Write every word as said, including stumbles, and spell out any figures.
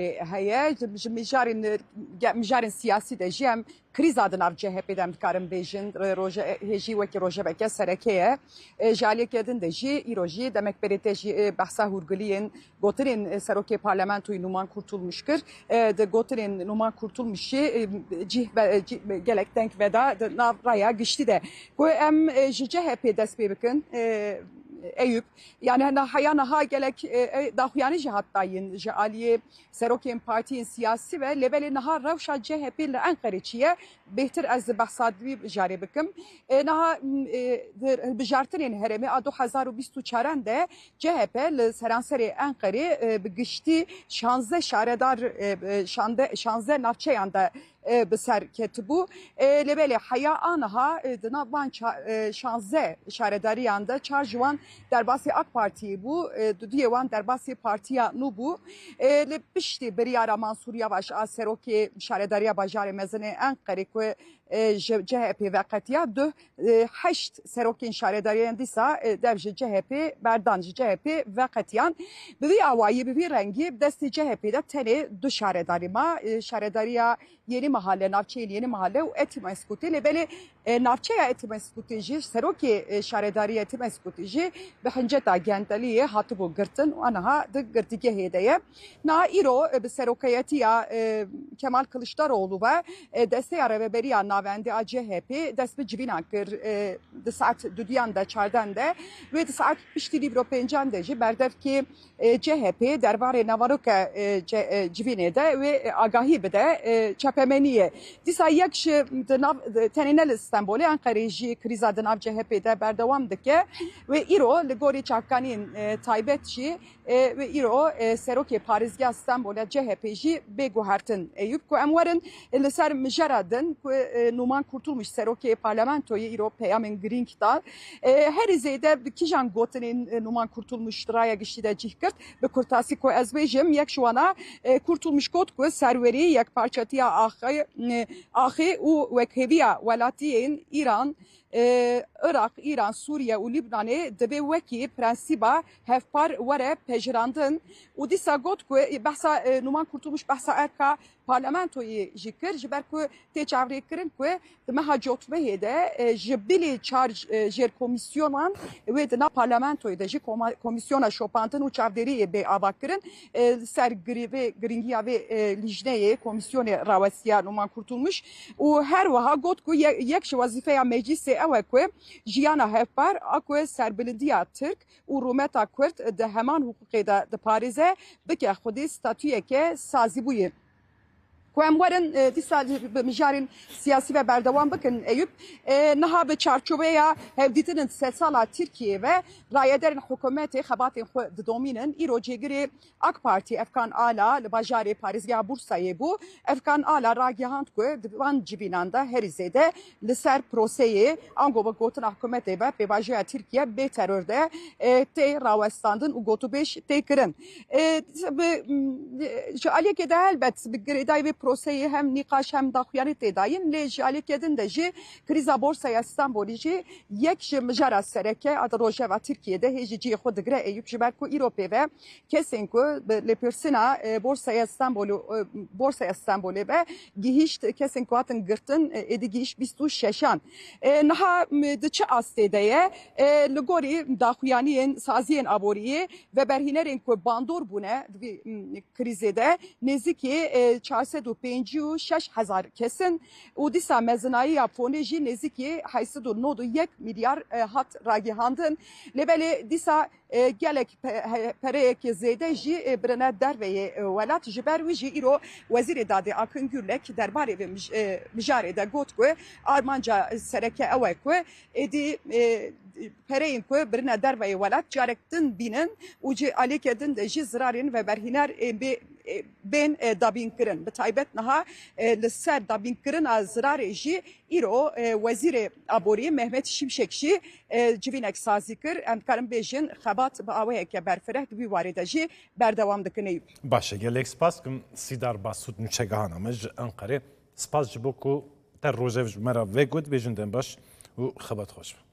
heye. Ji mijarên, ge-, mijarên siyasî de jî em krîza di nav C H P de em dikarin bêjin, roje-, hêjî wekî rojeveke sereke ye. E, ji aliyeke din de jî, îro jî demek berê te jî, e, behsa hûrgiliyên gotinên, e, serokê parlamentoyê Numan Kurtulmuş kir. E, di gotinên Numan Kurtulmuşî, e, cih ve-, e, cih, gelek deng veda di nav raya giştî de. Ku em, e, ji C H P dest pê bikin, e, Eyüp, yani na heya niha gelek, e, e, daxuyanî jî hat dayîn ji aliyê serokên partiyên siyasî ve, lê belê niha rewşa C H P li Enqerê çi ye? Bêhtir ez behsa wî mijarê bikim. E, niha, m, e, di hilbijartinên herêmê a du hezar û bîst û çaran de C H P li seranserê Enqerê, e, bi giştî şanzdeh şaredar, e, e, şande-, şanzdeh navçeyan de, e, bi ser ketibû. E, lê belê heya aniha, e, di nav van ça-, e, şanzdeh şaredariyan de çar ji wan derbasî AK Partiyê bû, e, dudiyê wan derbasî partiya nû bû. E, li piştî biryara Mansûr Yavaş a serokê şaredariya bajarê mezin ê Enqerê ku, e, ji C H P veqetiya, duh, e, heşt serokên şaredariyan dîsa, e, dev ji C H P berdan, ji C H P veqetiyan. Bi vî awayî, bi vî rengî, bi destê C H P de tenê du şaredarî ma, e, şaredariya Yeni Mahalle, navçeyên Yeni Mahalle û Etimeskutê. Lê belê, e, navçeya Etimeskutê jî, serokê, e, şaredariya Etimeskutê jî bi hinceta gendeliyê hatibû girtin û aniha di girtîgehê de ye. Niha îro, e, bi serokeyetiya, e, Kemal Kılıçdaroğlu ve, e, desteya rêveberiya navendî a C H P dest bi civînan kir, e, di saet dudiyan de, çardan de. Wê di saet piştî nîvro pêncan de jî berdevkê, e, C H P derbarê naveroke, e, ce-, e, civînê de wê, e, agahî bide, e, çapemeniyê. Dîsa yek ji di nav, di, tenê ne li Stenbolê, Enqerê jî krîza di nav C H P de berdewam dike. Wê îro li gorî çavkaniyên, e, taybet jî, e, wê îro, e, serokê parêzgeha Stenbolê C H P jî bê guhertin. Eyüp, ku em werin, e, li ser mijara din ku, e, Numan Kurtulmuş serokê parlamentoyê îro peyamên girîng da. E, herî zêde bi kîjan gotinên, e, Numan Kurtulmuş di raya giştî de cih girt? Bi kurtasî ku ez bêjim, yek ji wana, e, Kurtulmuş got ku serwerî, yekparçetiya axê, e, axê û wekhêviya welatiyên Îran, e, Iraq, Îran, Sûriye û Lîbnanê divê wekî prensîba hevpar were pejirandin û dîsa got ku, e, behsa, e, Numan Kurtulmuş behsa erka parlamentoyê jî kir, ji ber ku tê çavrêkirin ku di meha cotmehê de, e, ji bilî çar, e, jêrkomîsyonan wê di nav parlamentoyê de jî koma-, komîsyona şopandin û çavdêriyê bê avakirin, e, li ser girî-, vê girîngiya vê, e, lîjneyê, komîsyonê rawestiya Numan Kurtulmuş û her wiha got ku ye-, yek ji wezîfeya meclîsê ew e ku jiyana hevpar a ku serbilindiya Tirk û rûmeta Kurd di heman hiqûqê de diparêze, bike xwedî statuyeke sazîbûyê. Ku em werin, e, dîsa bi mijarên siyasî ve berdewam bikin, Eyüp, e, niha bi çarçoveya hevdîtinên sedsala Tirkiyeyê ve rayederên hikûmetê xebatên xwe didomînin. Îro cêgirê AK Partî Efkan Ala li bajarê parêzgeha Bursayê bû. Efkan Ala ragihand ku di van civînan de herî zêde li ser proseyê, ango bi gotina hikûmetê ve pêvajoya Tirkiye bê teror de, e, tê rawestandin û gotûbêj tê kirin. E, bi, m, ji aliyekê de helbet bi girêdayî vê proseyê hem nîqaş hem daxuyanî tê dayîn, lê ji aliyekê din de jî krîza Borsaya Stenbolê jî yek ji mijara sereke a di rojeva Tirkiyê de hê jî cihê xwe digire, Eyüp, ji ber ku îro pê ve kesên ku bi lêpirsîna, e, Borsaya Stenbolê, e, Borsaya Stenbolê ve gihîşt, kesên ku hatin girtin, e, êdî gihîşt bîst û şeşan. E, niha, m, di çi astê de ye? E, li gorî daxuyaniyên saziyên aboriyê, veberhînerên ku bandor bûne di vî, m, krîzê de nêzîkî, e, çar sed û pêncî û şeş hezar kes in û dîsa mezinayiya fonê jî nêzîkî heyt sed û nod û yek milyar, e, hat ragihandin. Lê belê dîsa, e, gelek pe-, he-, pereyeke zêde jî, e, birine derveyê, e, welat. Ji ber wî jî îro Wezîrê Dadê Akın Gürlek derbarê vê mij-, e, mijarê de got ku armanca sereke ew e ku êdî, e, pereyên ku birine derveyê welat carek din bînin û ji aliyeke din de jî zirarên veberhîner ê bê-, ê bên, e, dabînkirin. Bi taybet niha, e, li ser dabînkirina zirarê jî îro, e, Wezîrê Aborî Mehmet Şimşek jî, e, civînek sazî kir. Em dikarin bêjin xebat bi awayeke berfireh di vî warê de jî berdewam dikin. Eyüp. Baş e, gelek spas kim Sîdar Basût nûçegihana me ji Enqerê. Spas ji bo ku te rojev ji me re vegot, bêjin dem baş û xebat xweş be.